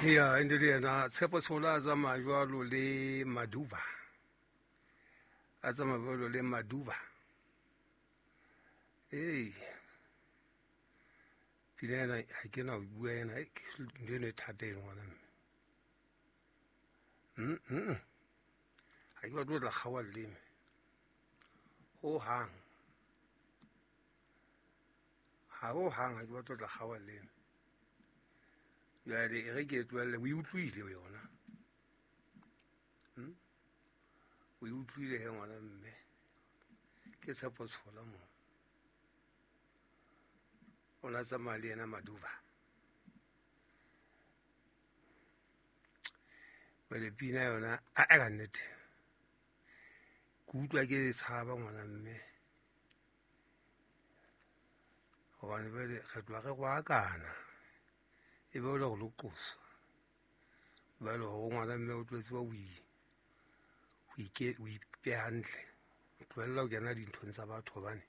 Ya ende le yena Tshepo Tshola a tsamaya jwalo le Maduba, a tsamaya jwalo le Maduba. Ee, pina ena ha ke na ho bua ena, ntho eno e thata eno ngwana mme. Ha ke batle ho tla kgaoha leleme ho hang, ha ho hang ha ke batle ho tla kgaoha leleme. Jwale e re ke e tlohelle, o e utlwile yona, o e utlwile he ngwana mme. Ke Tshepo Tshola moo, o na tsamaya le yena Maduba. Jwale pina yona a ka nnete ke utlwa ke tshaba ngwana mme, hobane jwale re tloha re roakana, e be o le hore lo qosa jwale hore ngwana mme o tlo tseba o ipeha hantle, tlohella ho kena dinthong tsa batho hobane